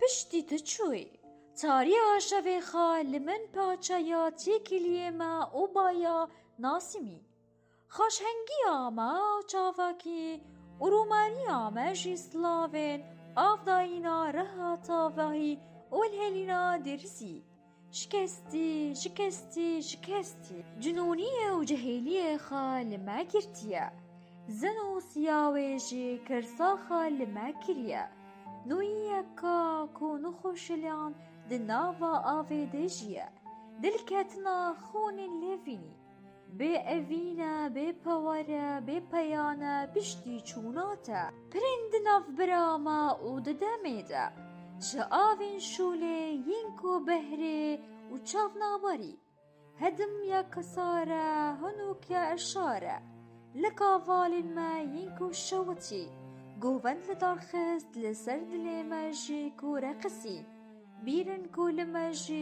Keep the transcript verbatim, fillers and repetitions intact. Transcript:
Piştî tu çûyî, tariya şevê xwe li min paçeya têkiliyê me û baya nasimî. Xweşhengiya me û çavakî û rûmeriya me jî silavên avdayîna reha tavahî û lihêlîna dirzî. Şikestî, şikestî, şikestî. Cinûniyê û cehêliyê xwe li me girtiye. Zin û siya wê jî kirsa xwe li me kiriye. Nûyiyeka ku nexweşiliyan di nava avê de jiye. Dilketina xûnên lêvînî. Bê evîn e, bê pewer e, bê peyan e, piştî çûna te. Pirên di navbira me û di demê de. Ji avên şûlê yên ku behrê û çavnabarî. Hedim ya kesar e, hunûk ya eşar e. Li kavalên me yên ku şewitî. Govend li dar xist, li ser dilê me jî ku reqisî. Bîr in ku li me jî